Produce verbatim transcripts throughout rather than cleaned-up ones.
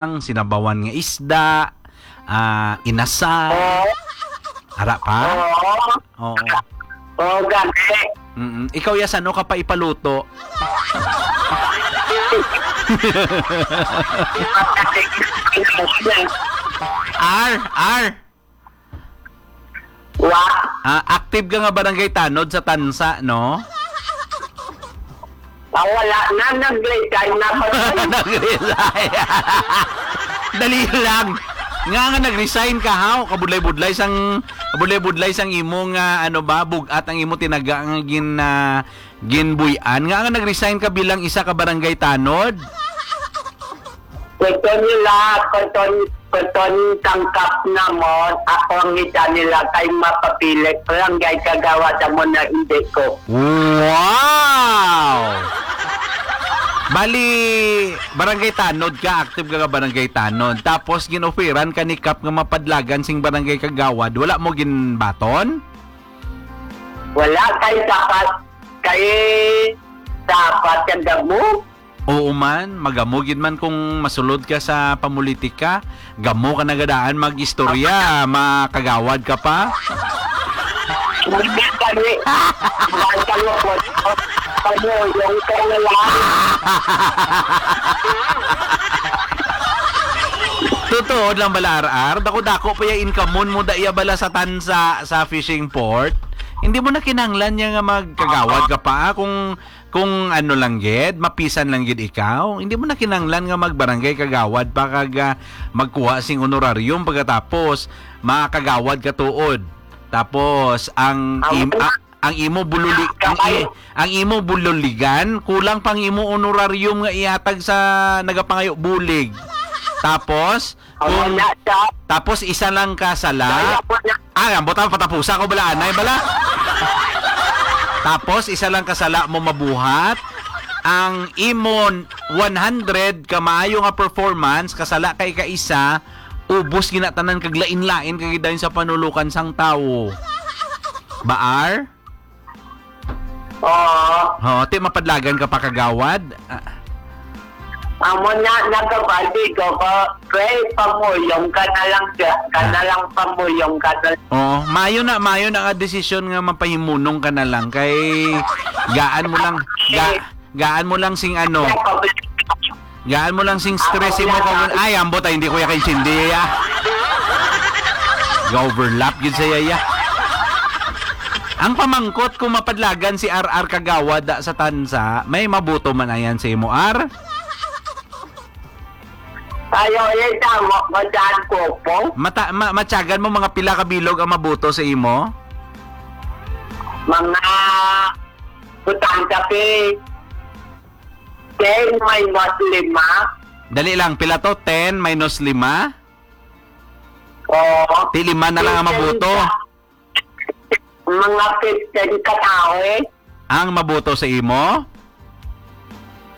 sinabawan nga isda, ah, inasal. Oo. Ara pa? Oo. Oo. Oo, gani. Mm-mm. Ikaw, ya, san-o ka pa ipaluto? R, R. Wa. Ah, active ka nga barangay tanod sa Tansa, no? Ah, wala na, nag-resign na ako. Nag-resign. Dali lang. Nga nga nag-resign ka, haw? Kabudlay-budlay sang, kabudlay-budlay sang imo nga, ano ba, bugat ang imo tinaga nga gin, ah, ginbuy-an. Nga nga nag-resign ka bilang isa ka barangay tanod? Gusto nila, gusto, gusto ni tangkap namon, ako ang ita nila kay mapapilit. Barangay kagawad amo na hindi ko. Wow! Bali, barangay tanod ka, active ka nga barangay tanod. Tapos, gin-offeran ka ni Kap nga mapadlagan sing barangay kagawad. Wala mo ginbaton? Wala kay dapat, kay dapat kang damo. Oo man, magamo gid man kung masulod ka sa pamulitika. Gamo ka na gid daan mag-istorya, makagawad ka pa. Hindi kami. Basta mo po. Pamulong ka na lang. Totoo lang bala, R R? Dako-dako pa yung income mo, mo da iya bala sa Tansa, sa fishing port. Hindi mo na kinahanglan niya nga magkagawad ka pa, ah, kung, kung ano lang gid, mapisan lang gid ikaw. Hindi mo na kinahanglan nga magbarangay kagawad pa kag, ah, magkuha sing honorarium pagkatapos makagawad ka tuod. Tapos ang Amo im-, na. a-, ang imo bululi, ang i-, Kabay. ang imo bululigan, kulang pang imo honorarium nga ihatag sa nagapangayo bulig. Tapos, Amo kung, na siya. tapos isa lang ka sala. Kaya po na. Ah, ang butang patapusa ko bala, anay bala. Tapos, isa lang ka sala mo mabuhat. Ang imo one hundred ka maayo nga performance, kasala kay ka isa, ubos ginatanan kag lain-lain kag dayon sa panulukan sang tawo. Baar? Oo. Oo, ti mapadlagan ka pa kagawad? Ah. Amo na, nagabati ko, ko, pray, pamuyong ka na lang, ka, ka na lang, pamuyong ka na lang. Oo, mayo na, mayo na nga desisyon nga mapahimunong ka na lang kay gaan mo lang, ga-, gaan mo lang sing ano, gaan mo lang sing stress imo kung, ay, ambot, ay, hindi ko ya kaintindi, ya. Ga-overlap gid sa iya, ya. Ang pamangkot, kung mapadlagan si R R Kagawad da sa Tansa, may mabuto man ayan sa imo, R? Ayaw, eh, tama, madaan ko po. Mata-, ma-, matyagan mo mga pila ka bilog ang mabuto sa imo? Mga butang kape. Ten minus lima. Dali lang, pila to? Ten minus lima? Oo. Ti lima na lang ang mabuto. Mga fifteen ka tawo, eh. Ang mabuto sa imo?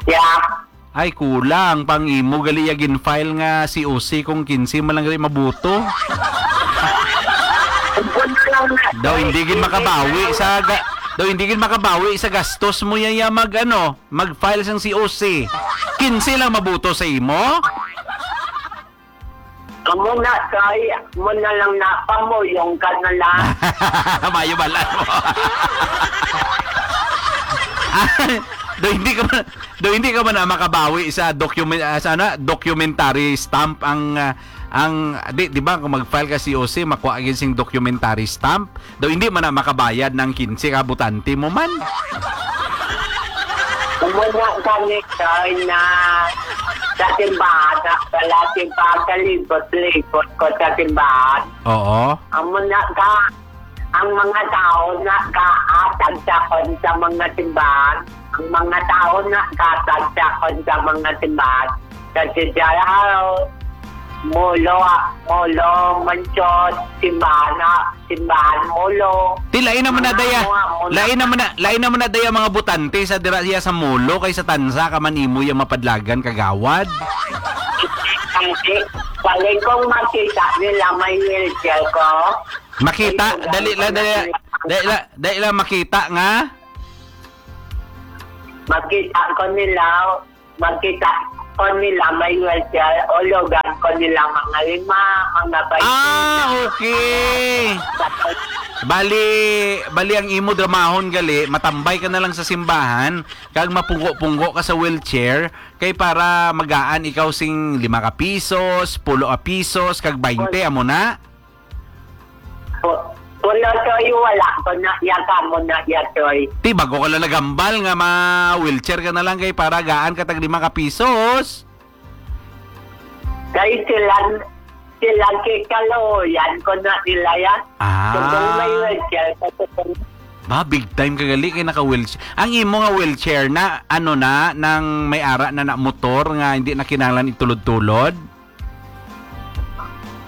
Yeah. Ay, kulang. Pang imo, gali ya gin-file nga C O C kung kinse man lang gali mabuto. Daw hindi gid makabawi sa ga-, daw hindi gid makabawi sa gastos mo ya, ya mag, ano, mag-file sang C O C. Kinse lang mabuto sa imo? Amo na, kay, mo na lang na, pamuyong ka na lang. Mayo balan mo. Do hindi ka man, do hindi ka man na makabawi sa document, ah, sa ano, documentary stamp ang, ah, ang, di, di ba, kung mag-file ka C O C, makuha gid sing documentary stamp. Daw hindi man na makabayad ng kinse ka butante mo man. Umuna kami, sir, na sa simbahan, na pala simbahan, kalibot-libot ko sa simbahan. Oo. Amo na ka, ang mga tao na kaatag sa kon sa mga simbahan, ang mga tao na katag sa kon sa mga simbahan, sa Sijaraw, Molo, Molo, Manchot, Simbana, Simbahan, Molo. Ti, lain naman na Mga daya. mga, mga Lain naman na, lain naman na daya mga butante sa dira siya sa Molo kay sa Tansa ka man imo yung mapadlagan kagawad. Kasi, balik kong makita nila may wheelchair ko. Makita, Ay, dali lang, dali lang, dali lang, dali lang makita nga. Makita ko nila, makita ko Kung nila may wheelchair, ulugan ko nila mga lima, mga baynte. Ah, okay. Bali, bali ang imo dramahon gali, matambay ka na lang sa simbahan, kag mapunggo-punggo ka sa wheelchair, kay para magaan ikaw sing lima ka pisos, pulo ka pisos, kag baynte, amo na? Pu-, pulo, Toy, wala ko na iya, kamo na iya, Toy. Ti, bago ka lang nagambal nga ma-wheelchair ka na lang kay para gaan ka tag lima ka pisos. Kay silang, silang kay kaluoyan ko na nila yan. Ah. Kung may wheelchair ka, kung Ba, big time ka gali kay naka-wheelchair. Ang imo nga wheelchair na, ano na, nang may ara na na motor nga hindi na kinahanglan itulod-tulod?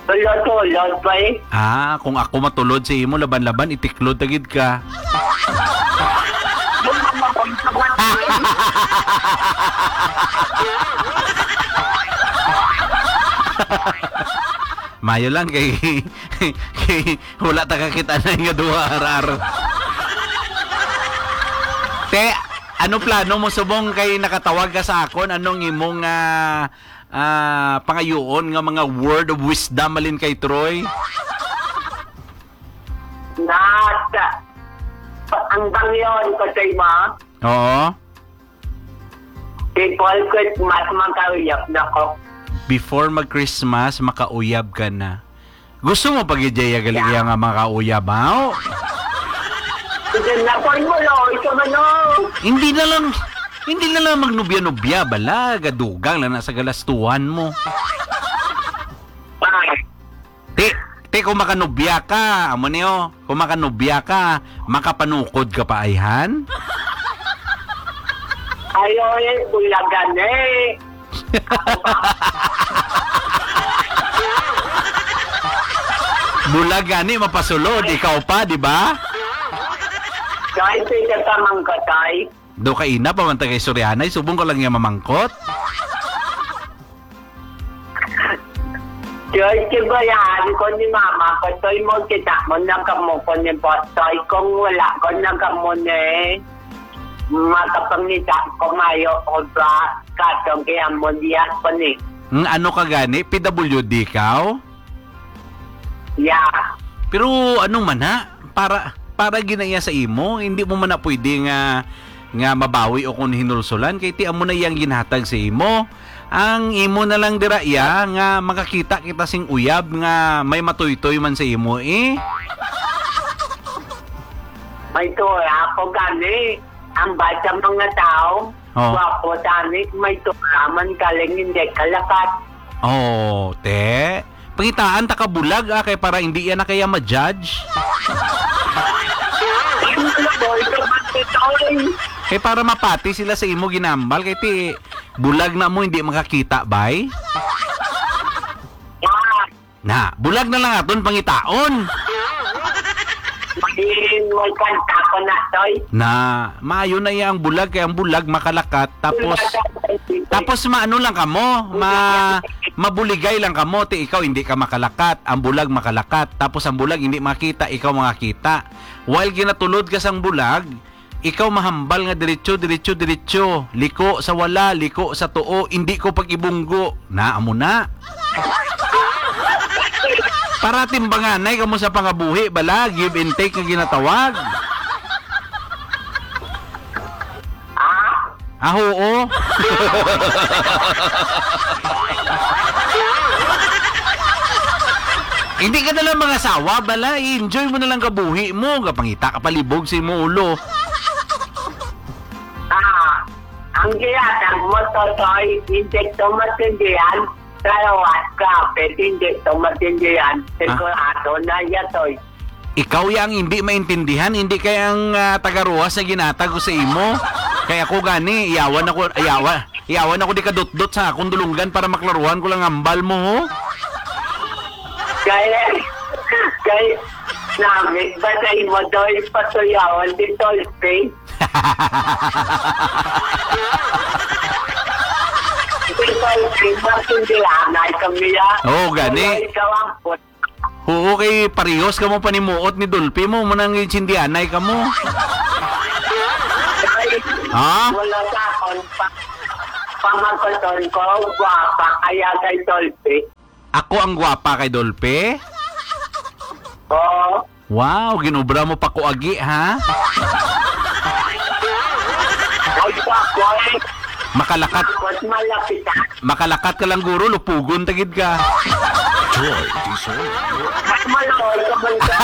Tulod-tulod pa eh. Ah, kung ako matulod sa imo, laban-laban, itiklod ta gid ka. Mayo lang kay, kay wala ta kakita na nga duha, arar. Te, ano plano mo subong kay nakatawag ka sa akon? Anong imong, ah, ah, pangayuon nga mga word of wisdom malin kay Troy? Nasa, ang bangyon ko sa imo. Oo. Before Christmas, makauyab na ko. Before mag-Christmas, makauyab ka na. Gusto mo pa gid, Jaya, gali Yeah. iya nga makauyab, ha? O? Hindi na po mo, Lord, sa manok. Hindi na lang, hindi na lang magnubya-nubya, bala, gadugang lang na sa galastuhan mo. Ah. Ti, ti, kung makanubya ka, amo ni, o, kung makanubya ka, makapanukod ka pa, ayhan? Ay, oy, bulagan eh. Bulag gani, mapasulod, ikaw pa, di ba? Kahit pwede ka mangkatay. Do ka ina pa man tagay Sorianay, subong ko lang niya mamangkot. George, kibayan ko ni mama ko, Toy, mo kita mo na kamo ko ni Boss Toy. Kung wala ko na kamo ni, makapangita ko mayo ko ba? Katong kaya mo diya ko ni. Ng ano ka gani? P W D ka? Yeah. Pero ano man ha? Para, para ginaya sa imo, hindi mo man na pwede nga, nga mabawi o kung hinulsulan, kay ti amo na iyang ginhatag sa imo. Ang imo na lang dira iya nga makakita kita sing uyab nga may matuytoy man sa imo, eh. May tura ako gani. Ang bata mga tao, Oo. Gwapo tani, may tura man galing hindi kalakat. Oh, te. Pangitaan ta ka bulag, ah, kay para hindi yan na kaya ma-judge. Ano na, boy? Kapatid, oy. Kay para mapati sila sa imo ginambal, kay ti bulag na mo, hindi makakita, bay? Ah. Na, bulag na lang aton pangitaon. Magin, may kanta ko na, Toy. Na, maayo na iya ang bulag, kay ang bulag makalakat, tapos, tapos maano lang kamo, ma-, mabuligay lang kamo, ti ikaw hindi ka makalakat, ang bulag makalakat, tapos ang bulag hindi makita, ikaw makakita. While ginatulod ka sang bulag, ikaw mahambal nga diretso, diretso, diretso. Liko sa wala, liko sa tuo, indi ko pag-ibunggo. Na, amo na. Para timbanganay kamo sa pangabuhi, bala, give and take nga ginatawag. Ah? Ah, oo. Hindi ka na lang mangasawa, bala, i-enjoy mo na lang kabuhi mo, gapangita ka palibog sa imo ulo. Ah, ang ginatag mo, Totoy, hindi to matindihan, pero what ka, pwede hindi to matindihan, Ah. Sigurado na yan, Toy. Ikaw ya ang hindi maintindihan, hindi kay ang, ah, tagaruwas na ginatag ko sa imo. Kay ako gani, iyawan ako, iyawan, iyawan ako di kadutdot sa akong dulunggan para maklaruhan ko lang ambal mo, ho? Kay, kay, namit ba sa imo, Toy, patuyawan di Tolpe? Di Tolpe, masindihan ay kami, ah. Oo, gani. Wala ikaw ang put- Oo, kay parehos kamo panimuot ni Dolphy mo, mo nang intindihanay kamo. Ay, Ha? Wala sa akon pa. Pamasaton ko, guwapa, kaya kay Dolphy. Ako ang guwapa kay Dolphy? Oo. Wow, ginobra mo pa ko agi, ha? Ay, pa ko, eh. Makalakat, Tapos malapit ka. Makalakat ka lang, guro, lupugon tagid ka. Joy Diesel. Mas malawal ka man ka.